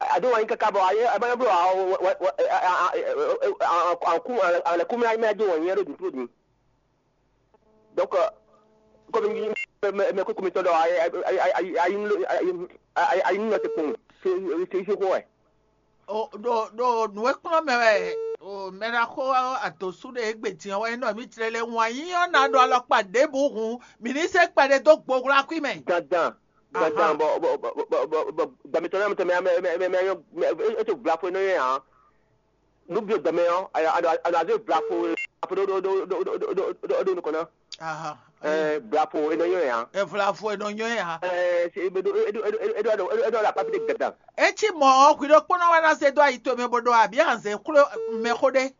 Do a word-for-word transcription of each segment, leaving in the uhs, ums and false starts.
A dó wǎn yí káká bɔ a ma nyɔ́ bló alɛkúnmɛ ayí mɛ dó wǎn yí ɖo dǐn tló din. Donc, kɔmi mɛ kúkú mitɔn ɖɔ ayinú nɔ te kpɔn, sí xó wɛ. Ɖo nǔ e kplɔ́n mɛ wɛ mɛ ná xo adǒsú ɖe égbé din ɔ́ wɛ nyí ɖɔ mǐ jlɛ́ lɛ́ wǎn yí ɔ́ ná ɖo alɔkpa ɖěbǔ hǔn, mǐ ní zé kpɛɖé dó gbogló akwí mɛ. Dandan dandan bɔ bɔ bɔ bɔ gbɛmɛtɔn náà mɛ mɛ mɛ mɛ mɛ é to gbla fo nɔ yɛ hàn. Nú bí gbɛmɛ ɔ́, a nɔ azé gbla fo fo ɖó ɖó ɖó ɖó ɖó ɖó ɖó nukɔn ná. Ɛɛ gbla fo é nɔ nyɔ yɛ hàn. Evla fo é nɔ nyɔ yɛ hàn. Ɛɛ é ɖó é ɖó é ɖó é ɖó é ɖó é ɖó akpá fi ɖé gbɛdan. Etí mɔ̌ ɔ́, hwi ɖokpónɔ wɛ ná zé dó ayi towe mɛ bó ɖó abǐ anzɛ xwlé mɛxó ɖé.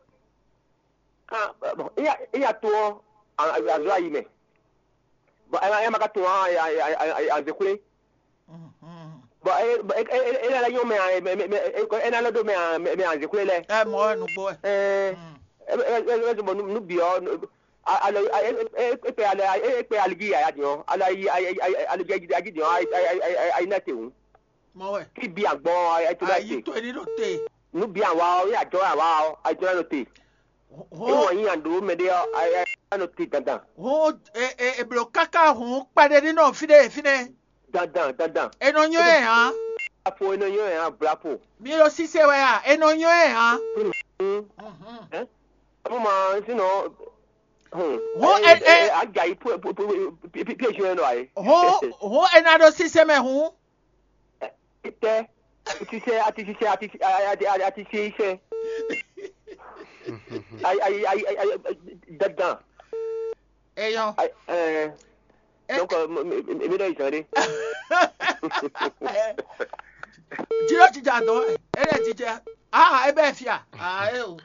Kan bɔn éya éya to ɔ́, azɔ ayi mɛ. Bɔn ɛ ma ɛ ma ka to ɔ́, azɛ xwlé. Bɔn é é é é ná lɛ́ nyɔ́ mɛ ǎ, mɛ mɛ mɛ é ná lɛ́ ɖó mɛ ǎ, mɛ mɛ azɛ xwlé lɛ́ɛ. Ɛ mɔ̌ wɛ nǔgbó wɛ. Ɛɛ é é é é bɔ nú nú bǐ ɔ́, a- alɔ a- é é é kpɛ alɛ é kpɛ aligi yaya din ɔ́, alɔ ayi ayi ayi aligi ayi din ɔ́, ayi ayi ayi ayi ná te hǔn. Mɔ̌ wɛ. Kí bí agbɔn ɔ́, ayi tó ná te. Ayi tó ní ɖo te. Nú bí àwa ɔ́, é àjɔ àwa ɔ́, ayi tó ná nɔ te. Hɔn Ewɔ nyi ando mɛ ɖé ɔ́, ayi ayi ná nɔ te dandan. Hɔn e e eblo káká hǔn kpɛɖé ní nɔ fínɛ́ fínɛ́. Dandan dandan. E nɔ nyɔ́ ɛ hǎn. Afo e nɔ nyɔ́ ɛ hǎn blapo. Mi ɖo sise wɛ a? E nɔ nyɔ́ ɛ hǎn. Ɛ mɔ ma sinɔ. Hɔn e e. Ajayi piège yẹn nɔ ayi. Hɔn hɔn e na ɖo sise mɛ hǔn. Tɛ atisisɛ atisisɛ atisisɛ. Ayi ayi ayi ayi dandan. Eyɔn. Donc, mi ɖɔ izan ɖe. Jiro jija dɔn, ele jijɛ. Ah, ebe fia. Ah, eh, oh.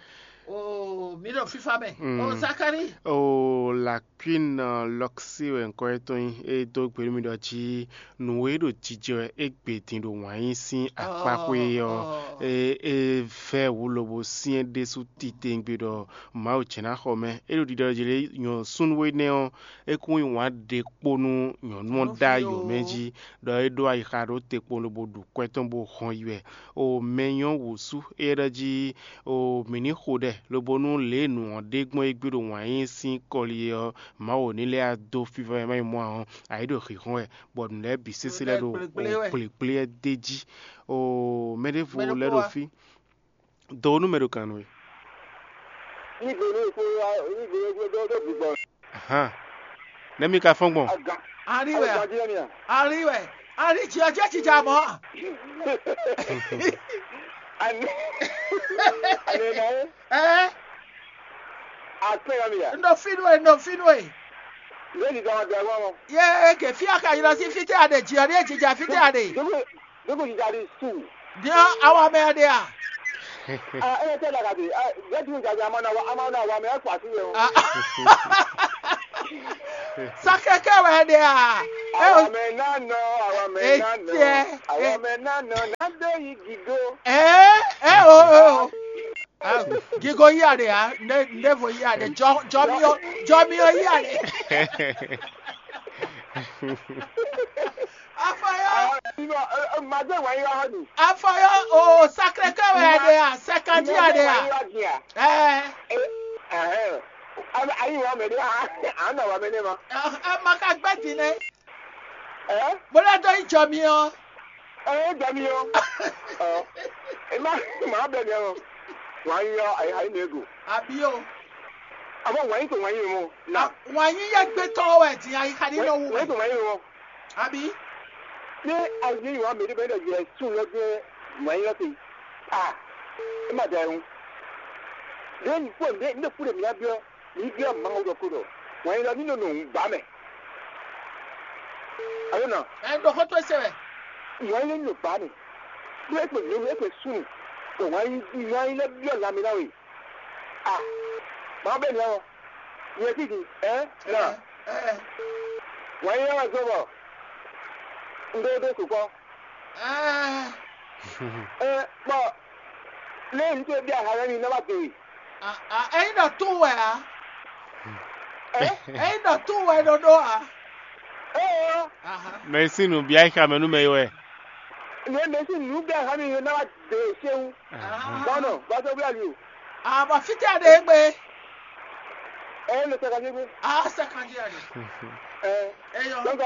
Oh, mi ɖo fifa mɛ. Oh, Zakari. Oh, la Queen Lɔksi wɛ ŋkɔ yětɔn nyí. É dó gbe nú mì ɖɔ jí nǔ e ɖo jijɛ wɛ é gbe din ɖo wǎn yí sín akpáxwé ɔ́, é é vɛ́ wǔ lobo syɛ́n ɖésú titewungbe ɖɔ Mawu jɛ́n ná xɔ mɛ. É ɖo ɖiɖɔ ɖɔ jlě nyɔ̌súnnu énɛ́ ɔ́, é kún yí wǎn ɖe kpó nú nyɔ̌nu ɔ́ ɖ'ayǐ mɛ jí, ɖɔ é ɖó ayixa ɖó te kpowun lobo ɖu kwɛ́ tɔn bó hɔn yi wɛ. O mɛ nyɔ́ wǔ sú é ɖɔ jí o mǐ ní xo ɖɛ, lobo nú lě e nǔ ɔ́ ɖe gbɔn é gbé ɖo wǎn yí sín kɔli é ɔ́, Mawu ní lɛ́ dó fífá e má nyí mɔ̌ ǎ ɔ́, ayǐ ɖo hǐnhɔ́n wɛ, bɔ nǔ lɛ́ɛ bǐ sésé lɛ́ ɖo kplekplé wɛ. Kplekplé ɛ d'é jí. Oo, mɛ ɖěvo lɛ́ ɖo fí. Dǒ nú mɛ ɖo gǎn nú we. Ní gbe ní fó ní gbe ní fó dó dó bǐ gbɔn. Ahan. Nɛ́ mi ka fɔ́n gbɔn? Agan. Ari wɛ. Agan jí lɛ́ mi a? Ari wɛ. Ari jɛ jɛ jija mɔ. Ani ani ma wo. Ɛɛ. Akpé ya mi ya. N ɖo fínú e, n ɖo fínú e. Lé ní dɔn dɔn wọ́n. Yé ke fí aka yi lɔ sí fítɛ́ a ɖe jǐ ɔ́ ɖíe jǐ jà fítɛ́ a ɖe. Dókò dókò jǐ jà ɖi su. Ní ɔ́, awa mɛ ɔ́ ɖe a? Ah, ɛ tɛ la ka bi. Ah, yɛ dun jà jà ma na wa ama na wa mɛ ɛ kpa sí yɛ o. Sakɛkɛ wɛ ɖe a? Awa mɛ na nɔ awa Etiɛ. Awɔ mɛ ná nɔ ná dé yi gigo. Ɛ ɛ o o. Gigo yí aɖe ya, ne ne vo yí aɖe, jɔ jɔ mi o, jɔ mi o yí aɖe. Afɔyɔ. Màdé wà yí wá hàn ní. Afɔyɔ o Sacré-Cœur wɛ aɖe ya, Sɛkanji aɖe ya. Ɛ. Ayi wà mɛ ɖé, à ń nà wà mɛ ɖé ma. Ɛ ma ka gbɛ din nɛ. Ɛ. Bó lɛ́ dó yi jɔ mi ɔ. Ɛ jɔ mi ɔ. Ɔ. Ɛ má má bɛ mi ɔ. Wà á yí ɔ, ayi ayi nìyẹn go. Àbí o. Àmọ́ wà á yí tó wà á yí mọ́. Na. Wà á yí yẹ gbé tọ́ wɛ dín ayi xaɖí lɔ wú Wà á yí wɛ. Tó wà á yí mọ́. Àbí. Ní ayi wà mí ní bẹ́ẹ̀ dẹ̀ jẹ́ sùn lọ́jọ́ wà á yí lọ́sẹ̀. Ah. Ẹ má da ẹ̀hún. Ní ní kúrò ní ní kúrò mí á bí ọ́. Mǐ byɔ́ Mawu ɖɔ kó ɖɔ wǎnyílɔ ní nɔ nɔ nǔ ba mɛ. Alo nɔ? Ɛ ɖo xó towe se wɛ. Wǎnyílɔ ní nɔ ba mɛ. Nú é kpe nǔ é kpe súnnu, bɔ wǎnyílɔ byɔ́ lanmɛ ná we. A Mawu bɛ́ nǔ ɔ́, nyɛ tídi, ɛ nɔ? Wǎnyílɔ wɛ zɔ́n bɔ un ɖó ɖó sukpɔ́. Ɛ bɔ lé ŋutsu e byɔ́ ahan lɛ́ɛ mi ná wá do e. Ényí ɖɔ tún wɛ ǎ. Ényí ɖɔ tún wɛ ɖɔɖó ǎ. Mɛ e sín nǔ byɔ́ ayixa mɛ nú mɛ é wɛ. Mɛ mɛ sín nǔ byɔ́ ahan mi ná wá do e séwu. Bɔnɔ bàtɔ wíwá li o. Àbọ̀ fítɛ́ ɖe é gbé. Ɛ lè sɛ kanjí gbé. Á sɛ kanjí àdè. Ɛ Eyɔ. Donc ɛ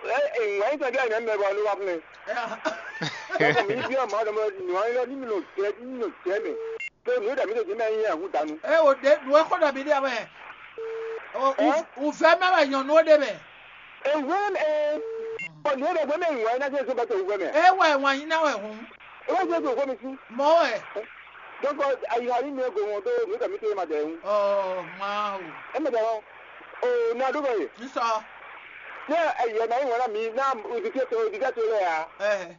ɛ wà yín sɛ bí àyìnbá mɛ bɔ ló wà fún mi. Ɛ Donc mi bí ọmọ ọdọ mọ nù ayé lọ ní mi nò jẹ ní nò jẹ mì. Tó nù dàbí tó jẹ mẹ yín ẹ̀hún dànù. Ɛ o de nù ɛ kọ́ dàbí dé abẹ́. Ɛ? Ùfẹ́ mẹ́wàá yàn nù ó dé bẹ̀. Ewé ɛ ɔ nìyẹn dẹ gbẹmẹ ìwà iná tí o sọ bá tẹ òwú gbẹmẹ. Ewé ìwà yín náà wẹ̀ hùn. Ewé tí o sọ mi sí. Mọ́ ẹ̀. Donc ayiha yín mi ego wọn tó mi kà mi tó ma dẹ ń. Ọ̀ máa o. Ẹ mẹ dẹ wọn. O na dúró yìí. N sọ. Ní ẹyẹ náà yín wọn náà mi náà ibi tí o tó ibi tí o tó lẹ yà. Ẹ.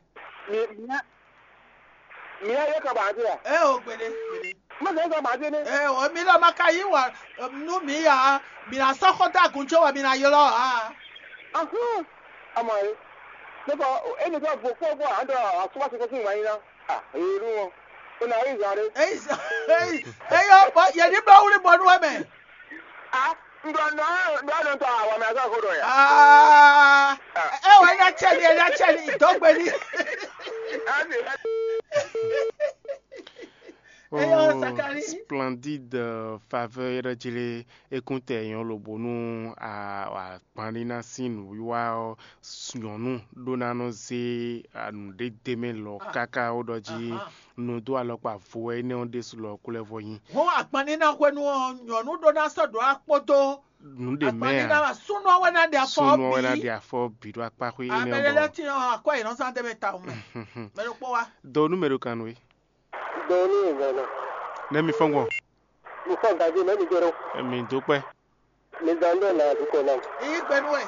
Mi mi mi ayé kan bàá ti yà. Ẹ o gbede gbede. Mo sọ sọ bàá ti ní. Ẹ o mi lọ ma ka yí wà nú mi yà mi na sọ kó dàgùn tí wà mi na yọlọ ha. Ahun. Ama ye. Nípa ẹni tó bò kó bò àádọ́ àsúwàsí kó fún ìwà yín ná. Ah, èyí ló wọn. Ó náà rí ìzà rẹ. Eyɔ bɔ yɛ ní bla wuli bɔ nú ɛmɛ. Ah, ŋdɔ nɔ ŋdɔ nɔ tɔ awɔ mɛ azɔ ko dɔ ya. Aa ɛ wɔ ɛna tsɛ ni ɛna tsɛ ni dɔgbe ni. Ami. Eyɔ Zakari. Splendide faveur yɛrɛ jele. Ekúntɛ nyɔ́ lobo nú agbanlíná sín nǔwiwa ɔ́, nyɔ̌nu ɖó ná nɔ zé nǔɖé d'é mɛ lɔ káká ó ɖɔ jí nǔ dó alɔkpa vo wɛ énɛ́ ɔ́ ɖésú lɔ kúlɛ́ vɔ nyí. Hɔn agbanlíná hwenu ɔ́, nyɔ̌nu ɖó ná sɔ́ ɖǒ akpódó. Nǔ ɖě mɛ agbanlíná a wɛ súnú ɔ́ wɛ ná ɖe afɔ súnú ɔ́ wɛ ná bǐ. Ɖe afɔ bǐ ɖó akpá xwé énɛ́ Abɛlɛ ɔ́ lɛ́ bɔ. Tin ɔ́ akwɛ́ yě nɔ zán d'é mɛ tawun mɛ. Mɛ ɖokpó wá. Do nú mɛ ɖo kan nú é. Do nú ìgbà náà. Nɛ́ mi fɔ́n gbɔn. Mi fɔ gaji mɛ mi jɛ ɖo. Mi dó kpɛ. Mi zan ɖo na dukɔ na. Iye gbɛnu wɛ.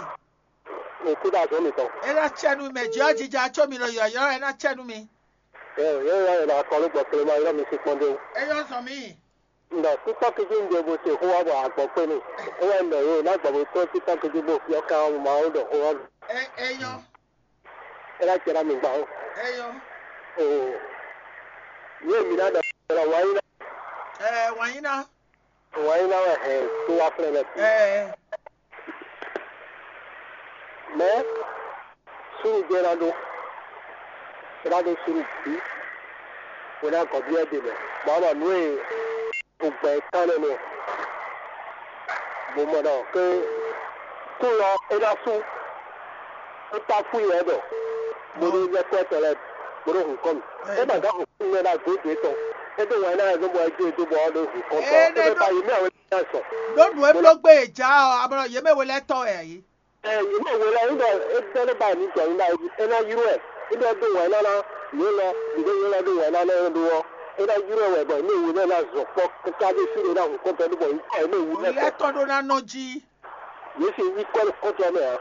Mi kú da zɔn mi tɔn. Ela tsɛ nu mɛ jɔ jija tso mi lɔ yɔyɔ ena tsɛ nu mi. Ɛ yɛ yɛ yɛ la kɔlu gbɔ kele ma yɔ mi si kpɔn de. Eyɔ zɔn mi. Nda kúkpɔ kejì ń de bó ṣe xó wá bọ̀ àgbọ̀ pé ni. Xó wá ń dọ̀ yóò ná gbọ̀ bó tó kúkpɔ kejì bó fi ọkà ọmọ máa ń dọ̀ xó wá. Ɛ eyɔ. Ela tsɛ na mi gba o. Eyɔ. Oo. Yóò mi ná dọ̀ ɔ wá yín ná. Ɛ wá yín ná. Wǎnyíná wɛ hɛn tó wá flɛ́ lɛ́ɛ. Ɛɛ. Mɛ súnnu jɛ ná ɖó. É ná ɖó súnnu bǐ. Bó ná gɔ̌ byɔ́ ɖe mɛ. Bɔ ama nǔ e gbogbo ɛ tán nɛ́ nɛ. Bó mɔ ɖɔ ké kún lɔ é ná sú. É kpá fú yɛ ɖɔ. Bó ɖó lɛ́ kɔ́ tɔ lɛ́ɛ bó ɖó hun kɔ́ mì. É ma gán xo kún lɛ́ɛ ná gǒ dě tɔn. É ɖó wǎnyíná wɛ zɔ́n bɔ é jó e dó bɔ ɔ́ ɖó hun kɔ́ tɔ. É ɖó ba yě mɛ àwọn. Ɖó nǔ e bló gbé e ja ɔ́, ablɔ yě mɛ we lɛ́ɛ tɔ́ wɛ ǎ yé. Ɛ yě mɛ we lɛ́ɛ ŋdɔ é dɛ́ ló ba ní jɔ ná é ná yrú ɛ. É ɖɔ dó wǎn ná ná yě lɔ, yě ɖo yě lɔ dó wǎn ná ná ɖó ɔ́. É ná yrú ɛ wɛ bɔ yě mɛ we lɛ́ɛ ná zɔ kpɔ́ káká dó sí ɖé ná hun kɔ́ntɔ́ dó bɔ yí kɔ yě mɛ wu lɛ́ɛ Lɛ́ɛ kɔ. Tɔn ɖó ná nɔ jí. Yě sì yí kɔ kɔ́ntɔ́ mɛ ǎ.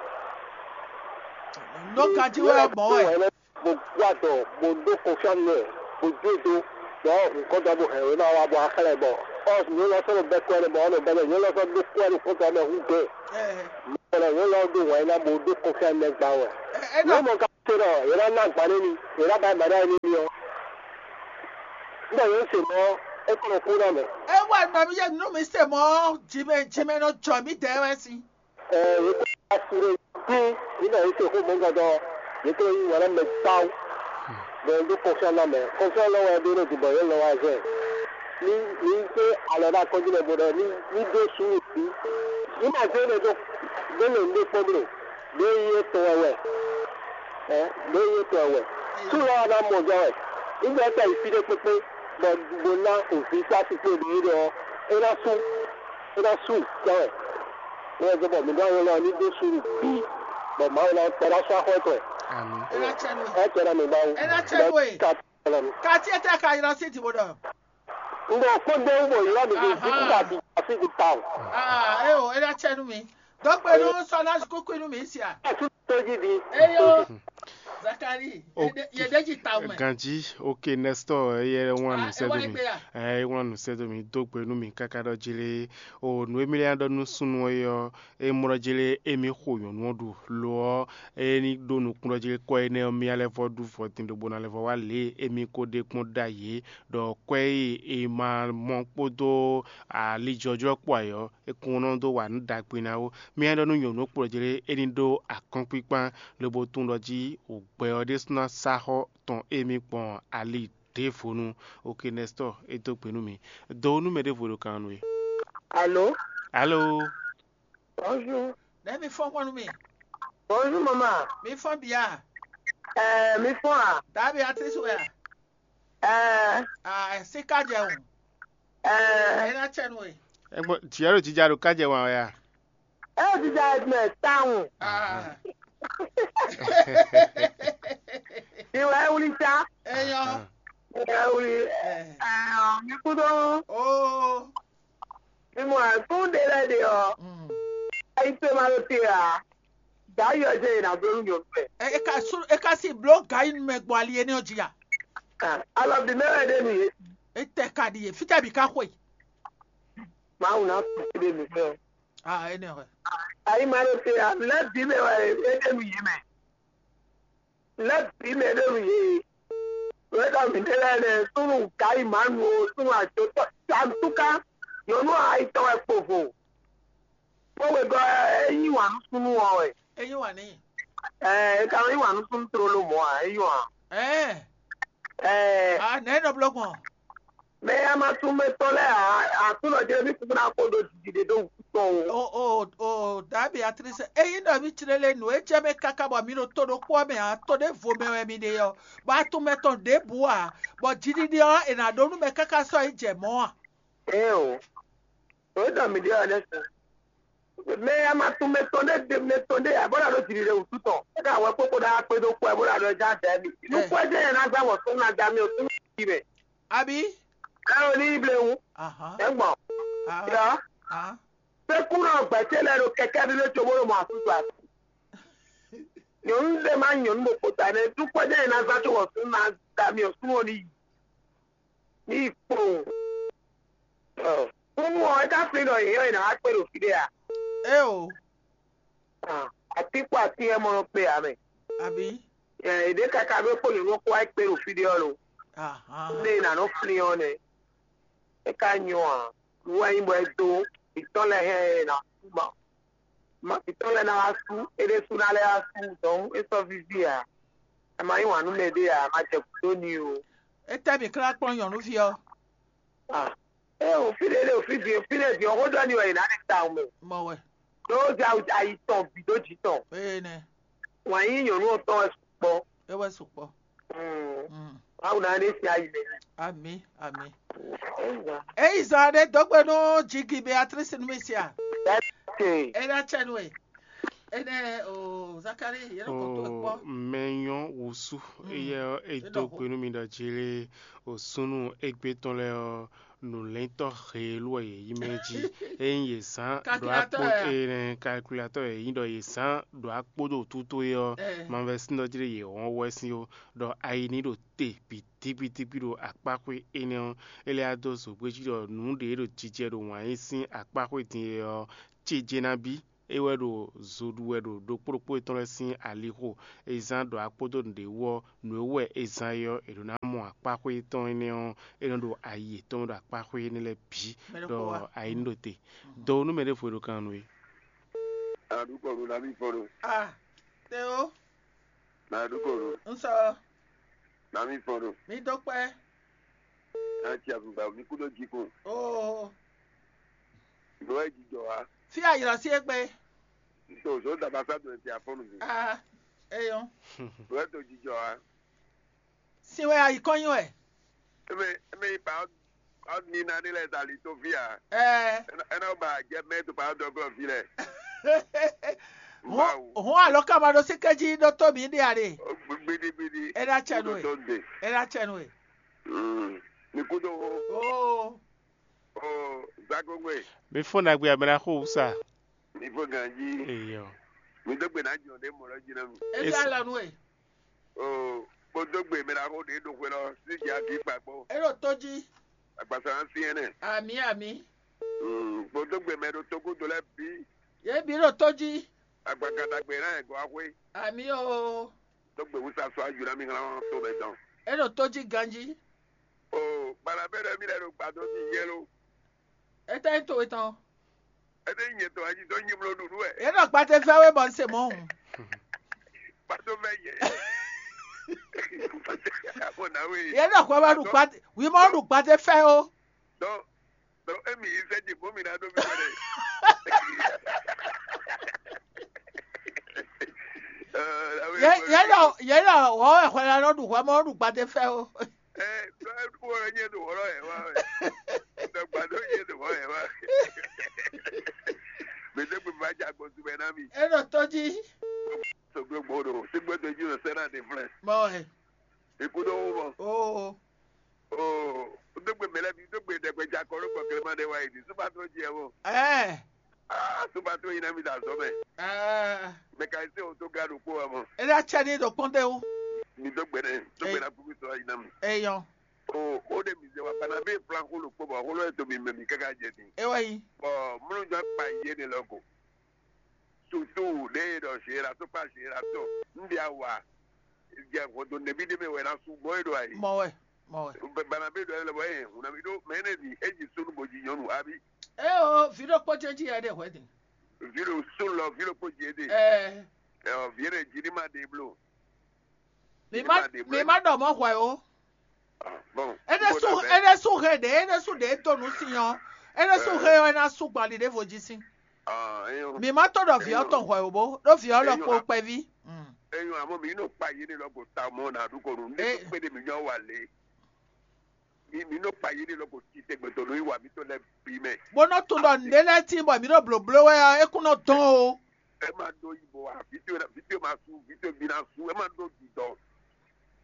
Nɔ ganjí wɛ mɔ wɛ. Mo gbɔ adɔ mo ɖó kɔnfíá nú ɛ mo jó e dó bɔ nǔkɔntɔn bó hɛn wěma wá bɔ axlɛ́ bɔ ɔ nyɔ̌nu ɔ́ sɔ́ nɔ bɛ́ kɔ́ ɛnɛ bɔ ɔ́ nɔ bɛ́ bɔ nyɔ̌nu ɔ́ sɔ́ ɖó kɔ́ ɛnɛ kɔ́ntɔn mɛ hú gbe. Mɔ̌ lɔ nyɔ̌nu ɔ́ ɖó wǎn ná bó ɖó kɔnfíá nú ɛ gbá wɛ. Ɛ ɛ Nǔ nɔ mɔ ka Ɖɔ yě ná ná agba nú mi, yě ná ba agba nú mi ɔ́, ɖɔ yě se mɔ̌, é kɔ nɔ kú ná mɛ. É wɛ nɔ mi yé nú mi se mɔ̌, jimɛ jimɛ nɔ jɔ mì dɛɛ wɛ sín. Ɛ, yě kɔ assuré dín, yě nɔ yě se xó mɔ̌ gɔdɔ, yě kɔ yí wǎn ná mɛ gbáwú. Bɔ é ɖó kɔnfyɔ́n ná mɛ, kɔnfyɔ́n lɔ wɛ ɖó nɔ dubɔ yě lɔ wá zɛ. Ní ní zé alɔ ɖó akɔ́jú lɛ bó ɖɔ ní ní ɖó sú wǔ sí. Ní ma zé ɖe ɖó ɖó lě ɖé kpɔ́n bló, ɖó yí étɔn wɛ wɛ. Ɛ, ɖó yí étɔn wɛ wɛ. Sú lɔ wá ná mɔ jɔ wɛ. Ní ɖɔ é ka yi fí ɖé kpékpé, bɔ bó ná òfin sá sí kpé ɖě ɖɔ é ná sú, é ná sú jɔ wɛ. Ní wɛ zé bɔ mi ɖó anyɔ lɔ ní ɖó sú nú bí, bɔ Mawu ná kpɛ ná sú axɔ étɔn wɛ. Ami. Ɛ ná cɛ nú ɛ. Ɛ cɛ ná mi Mawu. Ɛ ná cɛ nú ɛ. Ka tɔlɔ mi. Kati ete ka ylɔ sí ti bó ɖɔ. Ŋgɔ kpɔ́n ɖe wú bɔ ylɔ́ mi ɖo Aha. Ví kúkú àti àfi ti ta o. Ah, é o, é ná cɛ nú mi. Dɔgbe nú sɔ ná kúkú nú mi sia. Ɛ tún tó jí di. Eyo. Zakari, Ok. Yɛ ɖe jí ta o mɛ. Ganji, ok, Nestor, eyɛ wlán nǔ Ah, sɛ́ é wá dó mi. Egbe ya. Ɛ, é wlán nǔ sɛ́ dó mi, dó gbe nú mi káká ɖɔ jí lé. O nǔ e mi lɛ́ ɖɔ nú súnnu é ɔ́, é mlɔ́ jí lé émí xo nyɔ̌nu ɔ́ ɖu. Lo ɔ́, é ní ɖó nukúnnú jí lé kɔ́ énɛ́ ɔ́, mì lɛ́ vɔ́ ɖu vɔ̌ din ɖo bó ná lɛ́ vɔ́ wá lě e émí ko ɖe kpɔ́n ɖ'ayǐ é, ɖɔ kwɛ́ e è ma mɔ kpódó alijɔjlɔ́ kpó ayǐ ɔ́, é kún nɔ dó wa nǔ ɖagbe ná ó. Mì lɛ́ ɖɔ nú nyɔ̌nu kplɔ́ jí lé é ní ɖó akɔ́nkpíkpán, lobo tunwun ɖɔ jí wǔgbɛ ɔ́ ɖésú ná sá xɔ́ tɔn émí gbɔn ali ɖěvo nu. Ok, Nestor, é dó gbe nú mi. Do nú mɛ ɖěvo ɖo kan nú we. Alo? Alo? Bonjour. Ɖe mi fɔ́n kpɔ́n nú mi. Bonjour, maman. Mi fɔ́n bia. Ɛɛ, mi fɔ́n a? Dabi Beatrice wɛ a? Ɛɛ. Ah, si ka jɛ o. Ɛɛ. Ena cɛ nu e. Egbɔ tiɛ ɖo jija ɖo ka jɛ wan wɛ a? Ɛ jija mɛ tawun. Ah. Iwɛ wuli ta. Eyɔ. Iwɛ wuli. Ɛɛ. Ɛɛ, mi kudo. Oh. Mi mɔ akún ɖe lɛ ɖe ɔ. Mm. Ayi pe ma ɖo te a. Dayɔ jɛ yina bló nú nyɔnu mɛ. E e ka su e ka si bló gayi nu mɛ gbɔ ali énɛ́ ɔ́ jí a? Alɔ bi mɛ wɛ ɖe nu yé. E tɛ ka ɖi yé fítɛ bi ka xwe. Mawu ná kú sí ɖe mi fɛ. Ah, énɛ́ hwɛ. Ayi ma ɖo te a lɛ bi mɛ wɛ é ɖe nu yé mɛ. Lɛ bi mɛ ɖe nu yé. Wɛ ɖɔ mi ɖe lɛ nɛ súnnu gayi ma nu o súnnu ajotɔ. Antúká nyɔnu ayitɔ wɛ kpovo. Kpɔ́ wegɔ́ ɛ, é yí wǎn nú súnnu ɔ́ wɛ. É yí wǎn n'i. Ɛɛ, é ka nɔ yí wǎn nú súnnu tlóló mɔ̌ ǎ, é yí wǎn. Ɛɛ. Ɛɛ. A nɛ̌ nɔ bló gbɔn? Mɛ e a ma tunwun mɛ tɔn lɛ́ɛ ǎ, Aklúnɔ Jezu kúkú ná xo ɖo jǐjǐɖe ɖó wǔtu tɔn o. O o o Davi Beatrice, ényí ɖɔ mì clé lé nǔ e jɛ mɛ káká bɔ mi ɖo to ɖokpó ɔ́ mɛ ǎ, to ɖěvo mɛ wɛ mi ɖe ɔ́, bɔ a tunwun mɛ tɔn ɖěbǔ ǎ, bɔ jiɖiɖe ɔ́, è nǎ ɖó nú mɛ káká sɔ́ yi jɛ mɔ̌ a? Ée o, nǔ e ɖɔ mǐ ɖe ɔ́ ɖésú. Mɛ e a ma tunwun mɛ tɔn ɖé ɖe mɛ tɔn ɖé ǎ, bó ná ɖó jiɖiɖe wǔtu tɔn, é ka wɛ kpókpó ɖó akpé dó kú ɛ, bó ná ɖɔ é já dɛ mì. Nú kú ɛ jẹ́ yɛn ná gbá wɔ súnnu ná dá mì o, súnnu jí mɛ. Abǐ? Ɛ o ní yi blewú. Ahán. É gbɔn. Ahán. Yɔ. Ahán. Pé kú náà gbɛ̌ ce lɛ ɖo kɛkɛ́ ɖé lé cóbó ɖo mɔ asúsú asú. Nyɔ̌nu ɖé má nyí nyɔ̌nu ɖokpó ta nɛ́, nú kú ɛ jẹ́ yɛn ná zán có wɔ súnnu ná dá mì o, súnnu ɔ́ ní yi. Ní yi kpowun. Kúnnu ɔ́, é ka flín ɖɔ yě nyɔ́ yě ná wá kpé ɖo fí ɖé a? Éo. Atín kpó atín wɛ mɔ nɔ kpé ǎ mɛ. Abǐ? Yě ɖě káká ɖó kpó nyɔ̌nu ɔ́ kó wá kpé ɖo fí ɖé ɔ́ lo. Ahán. Lé e nǎ nɔ flín ɔ́ nɛ́. É ka nyɔ ǎ. Nǔ wɛ nyí bɔ é dó mǐtɔn lɛ́ɛ hɛn ɛ ná sú ma. Mavǐtɔ́ lɛ́ɛ ná wá sú, é ɖésú ná lɛ́ wá sú, dɔ̌n é sɔ́ víví ǎ. Ɛ ma yí wǎn nú mɛ ɖé ǎ, ma jɛ gǔdo n'i o. Étɛ́ mǐ klán kplɔ́n nyɔ̌nuví ɔ́? Ah, é o fí ɖé ɖé o fí din, fí ɖé din ɔ́, xó ɖɔ n'i wɛ è nǎ ɖe tawun mɛ. Mɔ wɛ. Ɖó ayi tɔn bǐ ɖó jǐ tɔn. Ee nɛ. Wǎn yí nyɔ̌nu ɔ́ tɔn wɛ sukpɔ́. É wɛ sukpɔ́. Mm. Mm. Mawu ná ɖe si ayi mɛ. Ami, ami. Eyi zan ɖe dɔgbe nú jigi Beatrice nú mi sia. Eke. Ena cɛ nú e. Ene o Zakari yɛrɛ kɔ to ekpɔ. Mɛ nyɔ wusu eye e do gbe nú mi ɖɔ jele o sunu egbe tɔn lɛ ɔ nǔlɛ́ntɔ́ heelú wɛ yě yí mɛ jí. Ényí yě zán ɖo akpó énɛ́, kalkulatɔ́ yě nyí ɖɔ yě zán ɖo akpó ɖo tútó é ɔ́, mavɛsín ɔ́ jlé yě wɔn wɛ́sin ó, ɖɔ ayi ní ɖo te bǐtíbítíbí ɖo akpáxwé énɛ́ ɔ́, é lɛ́ wá dó zǒgbéjí ɖɔ nǔ ɖě ɖo jijɛ ɖo wǎn yí sín akpáxwé din é ɔ́, cije ná bí. É wɛ ɖo zo ɖu wɛ ɖo ɖokpó ɖokpó yětɔn lɛ́ɛ sín alixo. È zán ɖɔ akpódó nǔɖé wú ɔ́, nǔ e wú wɛ è zán é ɔ́, è ɖǒ ná mɔ akpáxwé tɔn énɛ́ ɔ́, é nɔ ɖo ayi yětɔn ɖo akpáxwé énɛ́ lɛ́ɛ bǐ. Ɖɔ ayi ní ɖo te. Dɔwú nú mɛ ɖěvo e ɖo kan nú we. Aɖukɔnu na mi fɔn ɖo. Ah, Théo, Na aɖukɔnu n sɔ, na mi fɔn ɖo. mi dó kpɛ́. Na tsi avugba mi kú ɖo jikun. Oo, Nú ɛ jijɔ wa. fí ayǐlɔ sí égbé. N to zó dabasa do ti afɔnu mi. Ah, eyɔn. Nú ɛ to jijɔ wa. Sin wɛ ayi kɔn nyi wɛ. Eme eme yi pa ɔ ni na ni lɛ zali to fi a. Ɛɛ, Ena ena ba jɛ mɛ to pa dɔ gɔ fi lɛ. hɔn hɔn alɔ kama ɖo sí kɛji ɖó tó mi ɖe ale. Gbidi gbidi. Ena tsɛ nú ɛ. Tó de. Ena tsɛ nú ɛ. Mm. Mi kú tó o. Oo, O zakongwe. Mi fɔ́n ɖagbe abɛ́ ná xo wúsa. Mi fo ganji. Eyɔ. Mi dó gbe na jɔ ɖe mɔ lɔ jí na mi. efi alɔ nú ɛ. O kpódó gbe mi na xo ɖe ɖo xwe lɔ sí dzi agi kpakpó. Eɖo tó jí. Agbasa na si ɛnɛ. Ami ami. Mm. Kpódó gbe mɛ ɖo tógúdo lɛ bí. Yé bi ɖo tó jí. Agbakadagbe na yɛ gɔ axwe. Ami oo. Dó gbe wúsa sɔ ayu na mi hlán to mɛ dɔn. Eɖo tó jí ganji. O balabɛ ɖe mi lɛ ɖo gbadɔ ti yɛlo. Etɛ to etɔn. Ede nyɛ tɔ ayi dɔ nyi mlɔ ɖuɖu wɛ. Yé ɖɔ gbate fɛ wé bɔ n se mɔ hùn. Kpato fɛ yɛ. Abo na we. Yé ɖɔ kɔ bá ɖu gbate, wi mɔ ɖu gbate fɛ o. Dɔn dɔn emi yi sɛ dzi bɔ mi na do mi wɛ. Yé yé ɖɔ yé ɖɔ wɔ wɛ xɔ la nɔ ɖu hɔ mɔ ɖu gbate fɛ o. Ɛ dɔ ɛ kú wɛ nyɛ do wɔlɔ yɛ wa wɛ. Dɔ gbadɔ nyɛ do wɔ yɛ wa. Mɛ tɛ gbɛ ma dza gbɔ tu bɛ na mi. Eɖo tó jí. Sogbe gbɔ do sigbe do dzi o sɛ na de flɛ. Mɔ ɛ. Ikú dɔ wó mɔ. Oo. Oo dogbe mɛ lɛ bi dogbe dɛgbɛ dza kɔ ló kɔ kɛlɛma ɖe wa yi di supa tó dzi ɛ mɔ. Ɛɛ. Aa supa tó yi na mi da zɔ mɛ. Ɛɛ. Mɛ ka yi se o tó ga ɖo kpó wa mɔ. Eɖa tsɛ ni ɖo kpɔn de o. Mi dogbe nɛ dogbe na kuku sɔ yi na mi. Eyɔn. O o de mi zɛ wa bana bɛ flan xó ló kpó bɔ xó ló yɛ to mi mɛ mi kaka jɛ di. Ewɔ yi. Bɔn múlùjọ pa yé de lɔ ko. Sutu ɖe e ɖɔ zera tó pa zera tó. N bia wa. Jɛ xɔdo nɛbi ɖe mɛ wɛ na su bɔ e ɖo ayi. Mɔ wɛ. Mɔ wɛ. Bana bɛ ɖɔ lɛ bɔ e hun na mi ɖo mɛ ne di e dzi sunu bo dzi nyɔnu abi. Eo, vi ɖokpó jɛji ya ɖe hwɛ din. Vi ɖo sun lɔ vi ɖokpó dzi e de. Ɛɛ. Ɛ vi ɖe dzi ni ma de blo. Mi ma mi ma ɖɔ mɔ hwɛ o. Bon. Ene su ene su he ɖe ene su ɖe to nu si yɔ. Ene su he yɔ ena su gbali ɖe vo dzi si. Mi ma to ɖɔ viɔ tɔn hwɛ o bo ɖo viɔ lɔ kpo kpɛvi. Eyɔn amɔ mi nɔ kpa yi ne lɔ ko ta mɔ na ɖu ko nu ne kpe de mi nyɔ wa le. Mi mi nɔ kpa yi ne lɔ ko ti tɛgbɛ tɔ nu yi wa mi to lɛ bi mɛ. Bo nɔ tun ɖɔ nɖe lɛ ti bɔ mi nɔ bloblo wɛ ɔ ekun nɔ dɔn o. Ɛ ma ɖo yibɔ wa vito vito ma su vito bi na su ɛ ma ɖo didɔ.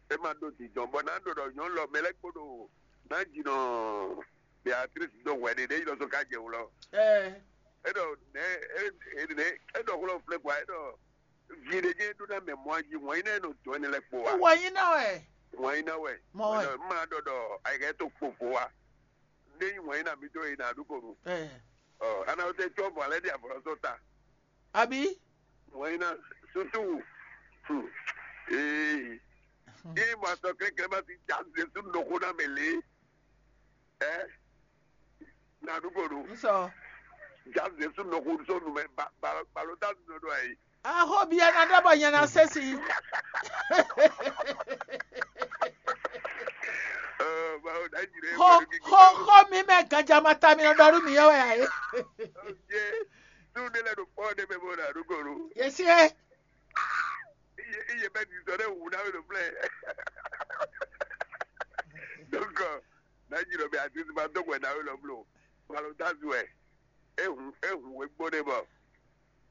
Ɛ ma ɖo didɔ bɔ na ɖo ɖɔ nyɔnu lɔ mɛ lɛ kpo ɖo na dzi nɔ Beatrice ɖo hwɛ ɖe ɖe yi lɔ so ka jɛ wlɔ. Ɛɛ. Eɖɔ nɛ eɖɔ eɖɔ xlɔ flɛ kɔ eɖɔ vi ɖe jɛ ɖo na mɛ mɔ ayi wɔn yi nɛ nɔ dɔn ɛnɛ lɛ kpo wa. Wɔ yi na wɛ. Wɔn yi na wɛ. Mɔ wɛ. Eɖɔ ma ɖɔ ɖɔ ayikɛ to kpo vo wa. Ne yi wɔn yi na mi do yi na ɖu ko nu. Ɛɛ. Ɔ ana wo tɛ tsɔ bɔ alɛ di avɔlɔ sɔ ta. Abi. Wɔn yi na sutu. Hmm. Ee. Ee ma sɔ kɛkɛ ma ti ja Jesu nɔko na mɛ le. Ɛ. Na ɖu ko nu. N sɔ. Ja Jesu nɔko sɔ nu mɛ ba ba balo ta nu do ayi. Aho bia na ɖe bɔ nyɛ na se si. Ɛ bawo da jire. Xɔ xɔ xɔ mi mɛ gadza ma ta mi nɔ ɖɔ ɖu mi yɔ wɛ ayi. Ye. Tu de lɛ do kpɔ de mɛ bo na ɖu ko nu. Yesi ye. Iye iye bɛ di sɔ ɖe wu na we do plɛ. Donc na yi lɔ bɛ ati ti ma dɔgɔ na we lɔ blo. Malo da zu ɛ. Ehun ehun we gbɔ de bɔ.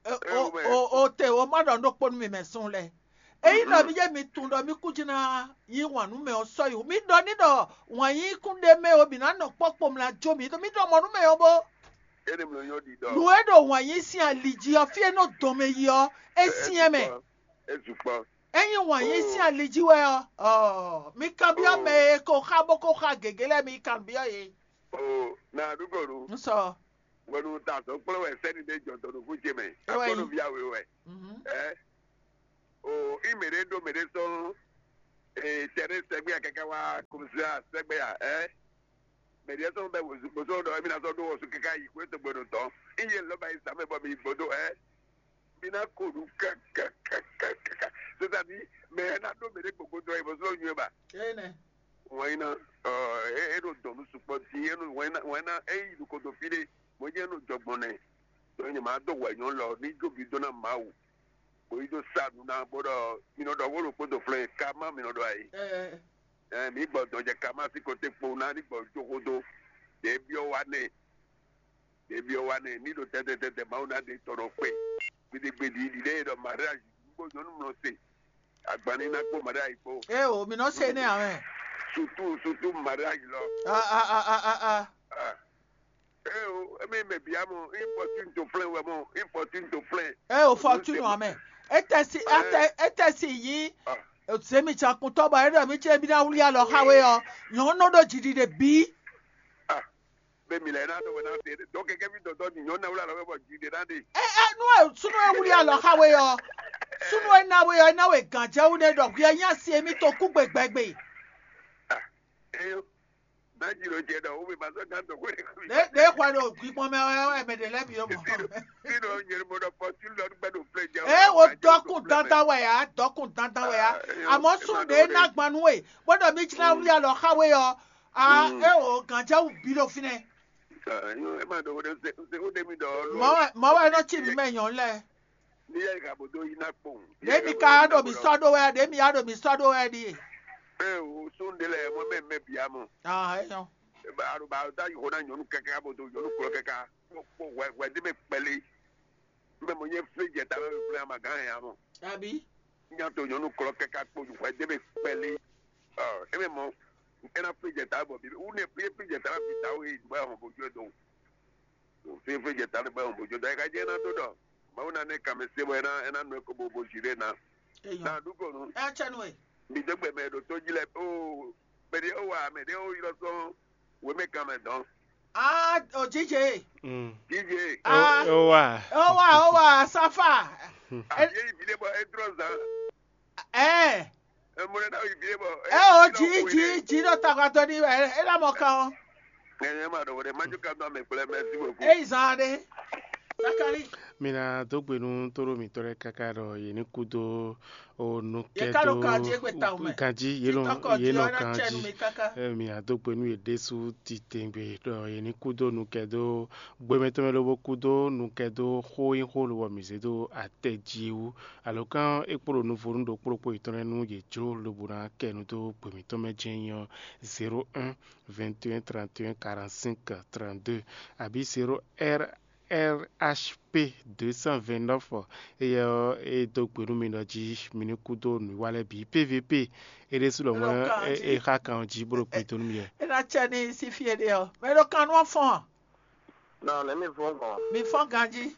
O o o te o ma ɖɔ ɖokpó nu mi mɛ sún lɛ. Eyi ɖɔ mi yé mi tun ɖɔ mi kú dzi na yí wǎn nú mɛ ɔ sɔ yi. Mi ɖɔ ní ɖɔ wǎn yí kún ɖe mɛ o mi ná nɔ kpɔkpɔ mla jó mi. Mi ɖɔ mɔ nú mɛ ɔ bó. Ene mlɔ nyɔ di dɔ. Nu e ɖo wǎn yí sín ali jí ɔ fí e nɔ dɔn mɛ yi ɔ é sín ɛ mɛ. Ezu kpɔ. Enyi wǎn yí sín ali jí wɛ ɔ, ɔ mi kanbyɔ mɛ e ko xa bó ko xa gěgé lɛ mi kanbyɔ yé. O na ɖu ko ɖu. N sɔ. Hwenu ta azɔ̌ kplɔ́n wɛ sɛ́ni ɖé jɔ dɔ̌nukún ce mɛ. Akpɔ́nɔví awe wɛ. Ɛ o, í mɛ ɖé ɖó mɛ ɖé sɔ́ tɛɖé sɛgbé ya káká wá komisia sɛgbé ya ɛ. Mɛ ɖé sɔ́ bɛ bozɔn ɖɔ émí ná sɔ́ ɖó wɔsú káká yi xwé tɔgbɛ ɖo tɔn. Í yé lɔba yi sàmɛ bɔ mi yi gbɔdó ɛ. Mi ná ko ɖu kákákákáká. C'est-à-dire, mɛ ɛ ná ɖó mɛ ɖé gbogbo dɔ yi bɔ sɔ́ nyu ɛ ba. Wɛn ná ɔ é é ɖo dɔ̌n nú sukpɔ́ dín é nú wɛn ná wɛn ná é yi ɖo kodo fí ɖé bó jẹ́ nɔ jɔgbɔn nɛ. Ɖɔ nyɛ máa dó hwɛ nyɔ̌ lɔ ní jó bi dó ná Mawu, bó yi dó sa nǔ ná bó ɖɔ mi nɔ ɖɔ wó ɖo kpódó flɛ́n ka má mi nɔ ɖɔ ayǐ. Ɛ mǐ gbɔ dɔn jɛ ka má sí koté kpo ná ní gbɔ jó xódó. Ɖě byɔ́ wá nɛ. Ɖě byɔ́ wá nɛ ní ɖo tɛtɛtɛtɛ Mawu ná ɖe tɔn nɔ kpé. Gbeɖegbeɖi ɖi ɖé ɖɔ mariage gbó nyɔ̌nu mlɔ se. Agbanní ná kpó mariage kpó. Eo, mi nɔ se nɛ amɛ. Surtout surtout mariage lɔ. Ah, ah, ah, ah, ah, ah. Ah. Eo, emi mɛ bia mɔ, infɔtune to flɛn wɛ mɔ, infɔtune to flɛn. Eo, fortune amɛ. Etɛ si atɛ etɛ si yí. Zemi tsakuntɔ bɔ eɖɔ mi ce bi na wuli alɔ xa we ɔ, nyɔnu ɖo jiji ɖe bi. Ah, be mi lɛ na dɔ wɛ na se dɔ kɛkɛ mi dɔdɔ ni nyɔnu na wuli alɔ wɛ bɔ ji ɖe na de. Ɛ ɛ nu ɛ sunu ɛ wuli alɔ xa we ɔ, sunu ɛ na we ɔ, ɛ na we gǎnjɛwu ne ɖɔ hwi ɛ nya si emi to kú gbegbɛgbe. Ah, eyo. Ɖe ɖe xɔ ɖo gbígbɔn mɛ wɛ wɛ mɛ ɖe lɛ́ɛ bǐ ɖo mɔ. Ee, wo dɔkun dandan wɛ ya, dɔkun dandan wɛ ya. Amɔ̌ sun ɖe ná gban nú we, bó ɖɔ mí jlá wlí alɔ xa we ɔ. A é o gǎnjɛwú bí ɖo fínɛ́. Mɔ̌ wɛ mɔ̌ wɛ nɔ cí mǐ mɛ nyɔ̌nu lɛ́ɛ. Ní yá ìhà bó dó yí ná kpowun. Ɖě mi ka ɖo mǐ sɔ́ ɖó wɛ, ɖě mi ya ɖo mǐ sɔ́ ɖó wɛ ɖíe. Ée o, sún ɖé lɛ́ɛ mɔ mɛ mɛ bǐ amɔ. Ah, é nyɔ́. Ba ɖo ba ɖo dó ayi xo ná nyɔ̌nu káká bó dó nyɔ̌nu klɔ́ káká. Kpó kpó hwɛ hwɛ dé mɛ kpɛlí. Mɛ mɔ nyɛ flé jɛ ta wɛ flé ama gán hɛn amɔ. Àbí? Nya to nyɔ̌nu klɔ́ káká kpó hwɛ dé mɛ kpɛlí. Ɔ, é mɛ mɔ, é ná flé jɛ ta bɔ bí wú nɛ flé flé jɛ ta ná fi ta wé yi dùbá hɔn bó jɔ dɔn. Fífí jɛ ta ɖe bɔ bó jɔ da ka jɛ ná dó ɖɔ Mawu ná nɛ kàmɛ se bɔ é ná é ná nɔ eko bo bo zi ɖe ná. Eyɔn. Na ɖu ko nu. Ɛ tsɛ nu e. Mi dó gbɛ mɛ ɖo tó jí lɛ o mɛ ɖe ó wa mɛ ɖe ó ylɔ sɔn wemɛ kan mɛ dɔn. Ah, o jije. Mm. Jije. Ah. O wa. O wa o wa safa. Àbí èyí fi lé bɔ é dúró zan. Ɛ. Ɛ mɔ ɖe ná yi fi lé bɔ. Ɛ o ji ji ji ɖo tagbadɔ ni wɛ é ná mɔ kan o. Ɛ ɛ ma ɖɔ wɛ ɖe ma jó kan dɔn mɛ kplɛ mɛ si wɛ ko. Eyi zan ɖe. Sakali. Mi ná dó gbe nú tóɖó mǐtɔn lɛ́ɛ káká ɖɔ yě ní kú dó o nú kɛ dó ganjí yě nɔ yě nɔ ganjí. Mi ná dó gbe nú yě ɖésú titewungbe ɖɔ yě ní kú dó nú kɛ dó gbɛmɛtɔ́ mɛ lóbó kú dó nú kɛ dó xó nyí xó lobɔ mǐ zé dó atɛ jí wú. Alǒkan é kpo ɖo nuvo nú ɖokpó ɖokpó yětɔn lɛ́ɛ nú yě jló lobo ná kɛ nu dó gbe mǐtɔn mɛ jɛ́n nyí ɔ́, zéro un, vingt et un, trente et un, quarante-cinq, trente-deux, abǐ zéro R R H P deux cent vingt-neuf. Éyɛ́ ɔ́, é dó gbe nú mi ɖɔ jí mi ní kú dó nǔwiwa lɛ́ɛ bǐ P V P. É ɖésú lɔmɔ̌ é xa kan ɔ́ jí bó ɖo gbe dó nú mi wɛ. É ná cɛ ní sí fí e ɖe ɔ́, mɛ ɖo kan nú ɔ́ fɔ́n. Nɔ nɛ mi fɔ́n gbɔn. Mi fɔ́n ganjí.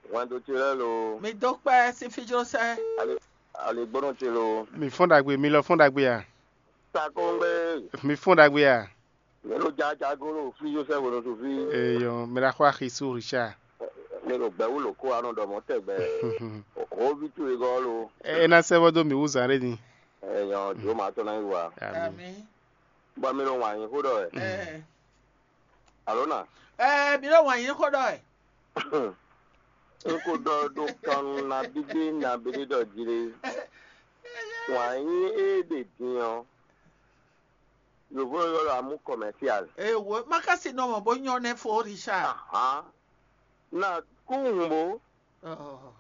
Wɛndo ce lɛ́ɛ lo. Mi dó kpɛ́ sín fíjlósɛ́. Ali aligbónú ce lo. Mi fɔ́n ɖagbe, mi lɔ fɔ́n ɖagbe a? Takóngbé. Mi fɔ́n ɖagbe a? Mi lo jajago lo fíjlósɛ́ hwenu su fí. Eyɔn, mi la xɔ axi sú Richard. Mi lo gbɛwú lo kó anɔ ɖɔ mɔ tɛgbɛ. Hó ví towe gɔ́ lo. É ná sɛ́ vɔ dó mi wú zǎn ɖé din. Eyɔn, jǒ ma tɔn ná yi wa. Ami. Bɔ mi lo wǎn nyi xó ɖɔ wɛ. Alo na? Ɛɛ, mi ɖo wǎn yí xó ɖɔ wɛ. N ko ɖɔ ɖo kan nabídé nabídé ɖɔ jí ɖé. Wǎn yí é ɖe din ɔ́, yǒvó ylɔ́ ɖɔ amú commercial. Ee, wo ma ka si nɔ mɔ bó nyɔ́ nɛ́ fó Richard. Ahán. Na kú hùn bó. Ɔɔ.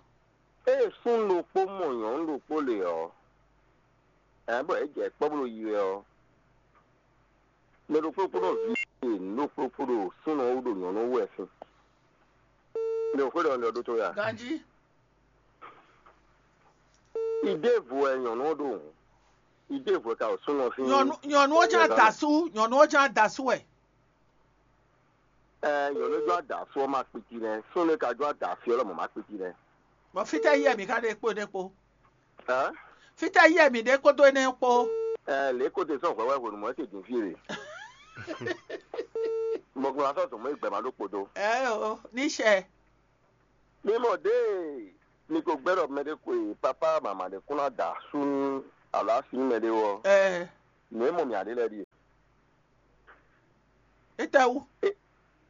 Ée sún ɖokpó mɔ nyɔ̌nu ɖokpó le ɔ́, ɛ bɔ é jɛ kpɔ́ bó ɖo yi wɛ ɔ́, mɛ ɖokpó kpó ɖo vǐ e nǔ ɖokpó kpó ɖo súnnu ɔ́ wú ɖo nyɔ̌nu wú wɛ sín. Mi ò xwé ɖɔ un ɖɔ ɖó tó ya? Ganjí. Idévo wɛ nyɔ̌nu ɔ́ ɖo hǔn. Idévo wɛ ka ɖo súnnu ɔ́ sín. Nyɔ̌nu nyɔ̌nu ɔ́ ján dasú, nyɔ̌nu ɔ́ ján dasú wɛ. Ɛɛ, nyɔ̌nu jɔ adǎ fó ɔ́ ma kpiti nɛ́, súnnu e ka jɔ adǎ fí ɔ́ lɔmɔ̌ ma kpiti nɛ́. Bɔ fítɛ́ yɛ mǐ ka ɖe kpó ɖé kpó? Hɛn? Fítɛ́ yɛ mǐ ɖe kpódó énɛ́ kpó? Ɛɛ, lě ko te sɔ́ hwɛ̌ wɛ hwenu mɔ̌ é te din fí e ɖe. Mo gbɔn sɔ́ zɔn mɔ gbɛ ma ɖó kpo dó. Ɛ o, ní sɛ. Mi mɔ ɖě ni ko gbɛ́ ɖɔ mɛɖé xwe papá mama ɖé kún ná da asú nú alo asi nú mɛɖé wɔ. Ɛ. Nǔ e mɔ mǐ aɖé lɛ́ɛ ɖíe. Étɛ́wú?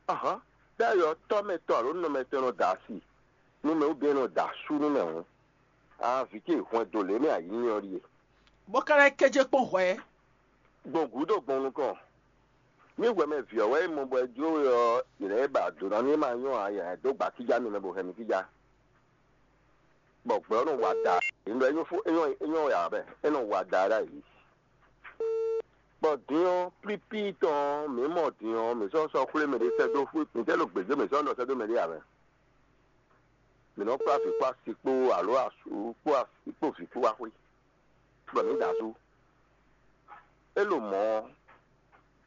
Ahán, ɖ'ayɔ tɔ́ mɛ tɔn alo nɔ mɛ tɔn nɔ da asi nú mɛ wú bɛ́ nɔ da asú nú mɛ hǔn. Aa vǐ ce hwɛndo lě mɛ ayǐ nyɛ ɔ́ ɖíe. Bó ka lɛ́ kéjé kpɔ́n hwɛ̌. Gbɔn gǔdo gbɔn nukɔn. Ní hwɛmɛ vǐ ɔ́ wɛ é mɔ bɔ é jló we ɔ́, yě lɛ́ ba dǒ ná ní é ma nyɔ́ ǎ, yě lɛ́ dó gba kíjá mi mɛ bó hɛn mi kíjá. Bɔ gbɛ̌ ɔ́ nɔ wa da, é nɔ é nyɔ́ fó é nyɔ́ é nyɔ́ ya bɛ é nɔ wa da ɖ'ayǐ. Bɔ din ɔ́, plíplí tɔn ɔ́, mǐ mɔ din ɔ́, mǐ sɔ́ sɔ́ xwlé mɛ ɖé sɛ́ dó xwé mǐ tɛ́ ɖo gbějé mǐ sɔ́ nɔ sɛ́ dó mɛ ɖé ǎ mɛ. Mǐ nɔ kplá vǐ kpó asi kpó alo asú kpó asi kpó vǐ kpó wá xwé, bɔ mǐ da asú. É ɖo mɔ̌ ɔ́,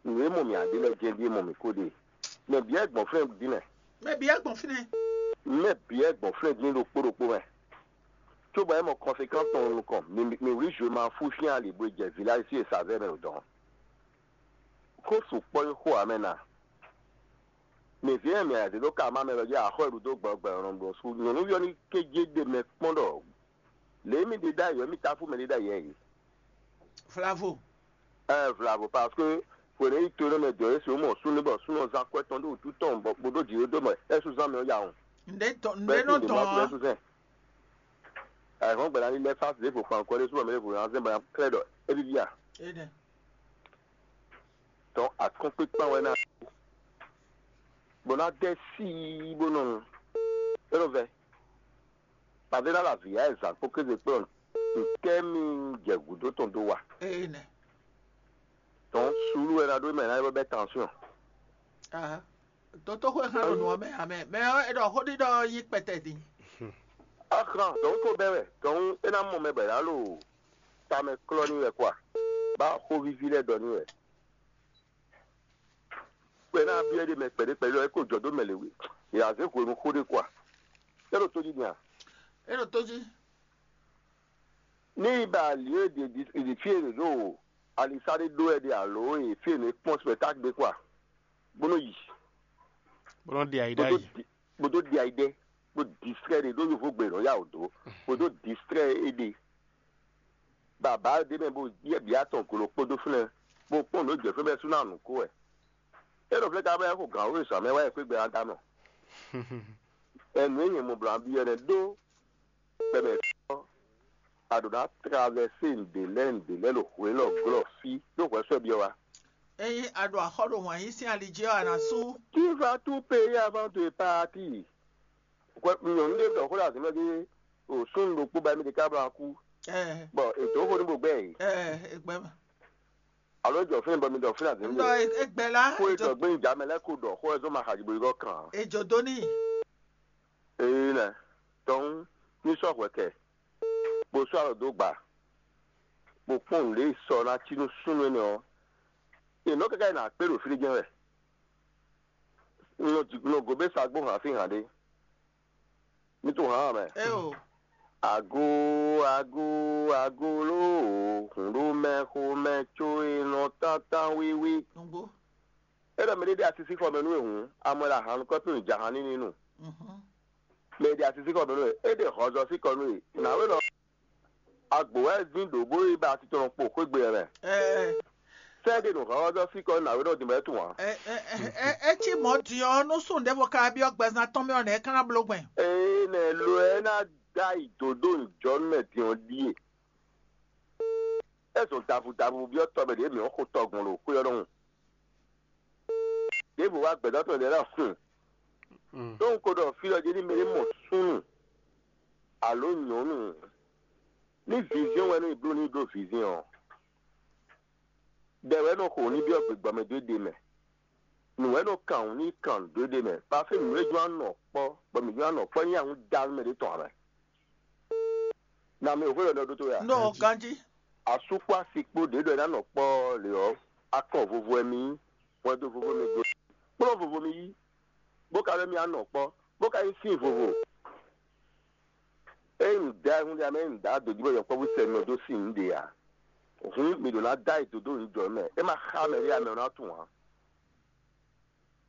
nǔ e mɔ mǐ aɖé lɛ́ɛ jɛ́n ɖíe mɔ mǐ kó ɖe. Mɛ bǐ wɛ gbɔn fínɛ́ dín mɛ. Mɛ bǐ wɛ gbɔn fínɛ́. Mɛ bǐ wɛ gbɔn fínɛ́ dín ɖokpó ɖokpó mɛ. Cóbɔ é mɔ kɔnsekán tɔn nukɔn, mǐ mǐ wlí zwe ma fú sín ali bó jɛ vǐláji sí e sa vɛ́ mɛ ɖo dɔ̌n. Xó sukpɔ́ nyí xó ǎ mɛ ná. Mǐ vǐ e mǐ zě ɖó ka má mɛ lɔ jí axɔ́ e ɖu dó gbɔgbɔ ɔ́ nɔ ɖo sú. Nyɔ̌nuví ɔ́ ní kéjé ɖe mɛ kpɔ́n ɖɔ lě e mì ɖe ɖ'ayǐ ɔ́, mì táfú mɛ ɖé ɖ'ayǐ ɛ yě. Vlavo. Ɛ vlavo parce que hwenu e yi to énɛ́ mɛ dɔ̌ é sǐ mɔ súnnu bɔ súnnu ɔ́ zán akwɛ́ tɔn ɖó wǔtu tɔn bɔ bó ɖó jǐ ɖó mɛ é sú zán mɛ ɔ́ ya hɔn. Nɖé tɔn nɖé nɔ tɔn ɔ́. Sú zɛn. Ɛhɔn gbɛ̌ ná ní lɛ́ fásitì ɖěvo kpan kɔ́ ɖé sú bɔ mɛ ɖěvo ná zɛ́n bɔ ná klɛ́ ɖɔ é víví a. Énɛ́. Tɔn akɔ́nkpíkpán wɛ ná bó ná dɛ síi bó nɔ nu. É nɔ vɛ. Pàdé ná la vǐ yá ɛ zǎn kpó kéze kplɔ́n ntɛ́ mi jɛ gǔdo tɔn dó wa. Énɛ́. Tɔn suúlu wɛ ná ɖó mɛ ná é bɛ bɛ́ tansyɔn. Dotoxwé hɛn ɖo nǔ ɔ́ mɛ amɛ mɛ ɔ́ é ɖɔ xó ɖiɖɔ ɔ́ nyí kpɛtɛ din. Axlán dɔn ko bɛ́ wɛ dɔn é ná mɔ mɛ bɔ yǎ lo tamɛ klɔ́ ní wɛ kwa bá xó víví lɛ́ɛ ɖɔ ní wɛ. Kpɛ ná byɔ́ ɖé mɛ kpɛɖé kpɛɖé ɔ́ é ko jɔ dó mɛ lě wí è azě hwenu xó ɖé kwa é ɖo tó jí din a. É ɖo tó jí. Ní yi ba ali e ɖe ɖi fí e ɖo alisá ɖé ɖó wɛ ɖe alo e fí e nɔ e kpɔ́n spectacle ɖé kwa bó nɔ yi. Bó nɔ ɖi ayi ɖ'ayǐ. Bó dó ɖi ayi ɖɛ bó distrɛ ɖe ɖó yovo gbe nɔ ya wò dó bó dó distrɛ é ɖe. Bàbá ɖé mɛ bó yɛ bǐ atɔn glo kpódó fúnɛ bó kpɔ́n nǔ jɛ fún bɛ́ sú ná nǔ kó wɛ. É ɖo flɛ́ ka bɛ́ xo gǎn wú e zǎn mɛ wá yɛ xwé gbɛ ná dá nɔ. Ɛnu e nyɛ mɔ blǎ byɔ́ nɛ́ ɖó kpɛmɛ fí ɔ́, a ɖǒ ná travɛsé nǔɖé lɛ́ɛ nǔɖé lɛ́ɛ ɖo hwě lɔ glɔ́ fí ɖó hwɛ sɔ́ byɔ́ wá. Ényí a ɖo axɔ́ ɖo wǎn yí sín ali jí ɔ́, a nǎ sú. Qui va tout payer avant de partir? Hwɛ nyɔ̌nu ɖé ɖɔ xó ɖo azǐmɛ jí o súnnu ɖokpó ba émí ɖe ká bló akú. Bɔ è dǒ xó ní bó gbɛ́ yě. Ɛ ɛ gbɛ mɛ. Alo jɔ fún bɔ mi ɖɔ fún azǐmɛ. Ŋdɔ egbɛ la. Kó e dɔ gbé ŋdza mɛ lɛ kó ɖɔ xó ɛ zɔn ma xadzi bo yi kɔ kàn. Edzo dó ní. Ee nɛ tɔn ní sɔ hwɛ kɛ bó sɔ alɔ dó gba bó kpɔn nǔɖé sɔ ná cí nú súnnu énɛ́ ɔ́. È nɔ káká yi nà kpé ɖo fí ɖé jɛ́n wɛ. Nɔ gobé sa gbó hǎn sín hǎn ɖé. Mi tunwun hǎn mɛ. Eo. Ago ago ago ló hǔn ɖó mɛ xomɛ có e nɔ tántán wíwí. Nugbo. É ɖɔ mɛ ɖé ɖe asisí xɔ mɛ nú e hǔn, amɔ ɖo ahan nukɔn pé nǔ jahan ní ní nu. Mhm. Mɛ ɖe asisí xɔ mɛ nú e, é ɖe hɔzɔ sí kɔ nú e. Nǎwe lɔ agbo wɛ dín ɖǒ bó yi ba titɔnɔ kpo xwé gbe ɛ mɛ. Ɛ Sɛ ɖe nǔ hɔ́hɔ́ síkɔ nǎwe ɖɔ din bɔ é tunwun ǎ. Ɛ ɛ ɛ ɛ cí mɔ̌ din ɔ́, nú súnnu ɖěvo ka byɔ́ gbɛzán tɔn mɛ ɔ́, nɛ̌ é ka ná bló gbɛn? Ee nɛ lo ɛ ná dó ayi dǒ dó nǔjɔnú mɛ din ɔ́ ɖíe. É zɔn davu davu byɔ́ tɔ mɛ ɖě mǐ ɔ́ xo tɔgbɔn ɖo xwé ɔ́ ɖɔhun. Ɖěvo wá gbɛ̌dɔ́ tɔn ɖě lɛ́ɛ hun. Ɖó un ko ɖɔ fí ɔ́ jí ní mɛ ɖé mɔ súnnu alo nyɔ̌nu ní viziɔn wɛ nú è bló n'i ɖó viziɔn ɔ́, ɖɛ wɛ nɔ xo ní byɔ́ gběgbɔ́ mɛ dó ɖe mɛ. Nǔ wɛ nɔ kan wǔ ní kan dó ɖe mɛ. Pafé nǔ e jɔ́n anɔ kpɔ́, bɔ mǐ jɔ́n anɔ kpɔ́ nyí ahun dá nú mɛ ɖé tɔn ǎ mɛ. Na mi ò xwé ɖɔ ɖɔ ɖó tó ya. Nɔ ganjí. Asú kpó asi kpó ɖě ɖɔ é ná nɔ kpɔ́ lě ɔ́, akɔn vovo wɛ mi yí, hwɛndo vovo mi do. Kplɔ́n vovo mi yí, bó ka ɖɔ mi anɔ kpɔ́, bó ka nyí sín vovo. Ényí nǔ da hun ɖe amɛ nǔ da dǒ jí bɔ yɔkpɔ́vú sɛ nɔ dó sin nǔ ɖe ǎ. Hǔn mǐ ɖǒ ná dó ayǐ dó dó nǔ jɔ mɛ. É ma xá mɛ ɖé amɛ ɔ́ ná tunwun ǎ.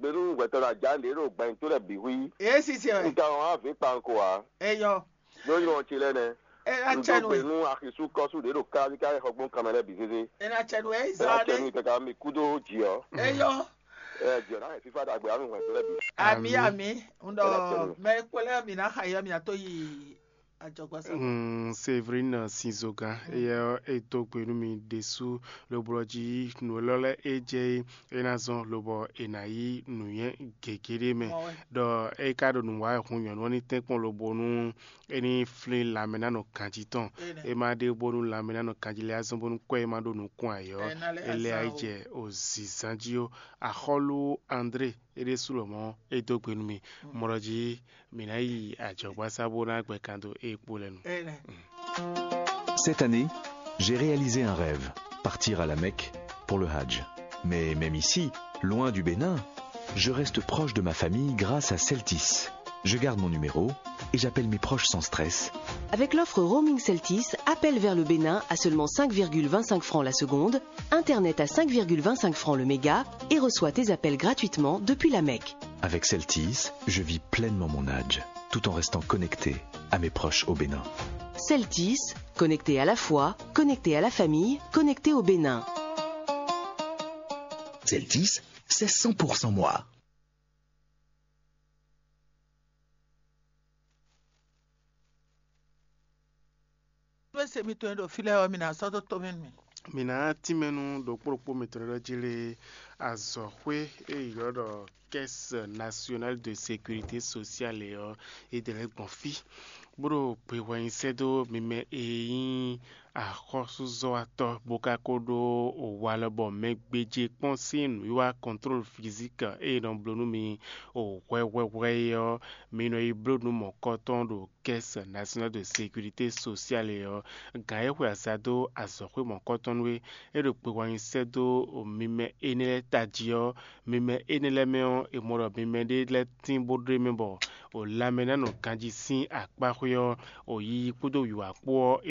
gbe nú hwɛtɔ́ ná ja nǔɖé ɖo gbɛ̌nyitó lɛ́ɛ bǐ xwí. Ě sise wɛ. Un ka wɔn avǐ kpawun ko ǎ. Eyɔ. Ló nyí ɔn ce lɛ́ɛ nɛ́. Ena Un dó tsɛnu gbe e. Nú axisú kɔ́sú ɖě ɖo káká xɔgbɔn kanmɛ lɛ́ɛ bǐ zézé. Ena tsɛnu e Ena Israeli. Tsɛnu kaka mi kúdó jǐ ɔ. Eyɔ. Ɛ jǐ ɔ ná hɛn fífá ɖagbe anu hwɛndo lɛ́ɛ bǐ. Ami Ami. Ami. Un Ena ɖɔ tsɛnu. Mɛ kpɔlɛ mi ná xa yɔ mi ato yi ajɔgbasa. Mm, Séverine Sinzogan, eyɛ ɔ, e dó gbe nú mi ɖésú, lobo ɔ́ jí nǔ élɔ́ lɛ́ɛ é jɛ é, é ná zɔ́n lobɔ è nǎ yí nǔnywɛ́ gěgé ɖé mɛ. Mɔ wɛ. Ɖɔ é ka ɖo nǔ wa wɛ hun nyɔ̌nu ɔ́ ní tɛ́nkpɔ́n lobo nú é ní flín lanmɛnánɔ ganjí tɔn. Énɛ́. É má ɖe bónú lanmɛnánɔ ganjí lɛ́ɛ azɔn bónú kɔ́ e má ɖó nukún ayǐ ɔ́, Ɛ ná lɛ́ é lɛ́ azan ayí o. Jɛ òzǐzán jí ó. Axɔ́lú André é ɖésú lɔmɔ̌ é dó gbe nú mi. Mɔ ɖɔ jí mǐ ná yi ajɔ̌gbásá bó ná gbɛ kan dó é kpó lɛ́ɛ nu. Énɛ́. Cette année, j'ai réalisé un rêve, partir à la Mecque pour le Hajj. Mais même ici, loin du Bénin, je reste proche de ma famille grâce à Celtis. Je garde mon numéro et j'appelle mes proches sans stress. Avec l'offre roaming Celtis, appel vers le Bénin à seulement cinq virgule vingt-cinq francs la seconde, internet à cinq virgule vingt-cinq francs le méga et reçois tes appels gratuitement depuis la Mecque. Avec Celtis, je vis pleinement mon Hajj, tout en restant connecté à mes proches au Bénin. Celtis, connecté à la foi, connecté à la famille, connecté au Bénin. Celtis, c'est cent pour cent moi. Nú e se mitɔn e ɖo fí lɛ́ɛ ɔ́, mi ná sɔ́ dó tomɛ nú mì. Mǐ ná tínmɛ nú ɖokpó ɖokpó mitɔn e ɖɔ jí lé azɔ̌xwé e ylɔ́ ɖɔ Caisse Nationale de Sécurité Sociale ɔ́, é ɖe lɛ́ gbɔn fí. Bó ɖo gbehwɛnyi sɛ́ dó mi mɛ e nyí axɔ́súzɔ́watɔ́ bó ka ko ɖó walɔ bɔ mɛ gbéjé kpɔ́n sín nǔwiwa kɔntlólu fizík e nɔ bló nú mi o hwɛhwɛhwɛ é ɔ́, mi nɔ yi bló nǔ mɔ̌kɔtɔn ɖo Caisse Nationale de Sécurité Sociale é ɔ́. Gǎn e xwe aza dó azɔ̌xwé mɔ̌kɔtɔn nú é, é ɖo gbehwɛnyi sɛ́ dó mi mɛ énɛ́ lɛ́ɛ tají ɔ́, mi mɛ énɛ́ lɛ́ɛ mɛ ɔ́, è mɔ ɖɔ mi mɛ ɖé lɛ́ɛ tín bó ɖó mɛ bɔ o lanmɛ ná nɔ ganjí sín akpáxwé ɔ́, o yiyi kpódó wǐwá kpó ɔ́,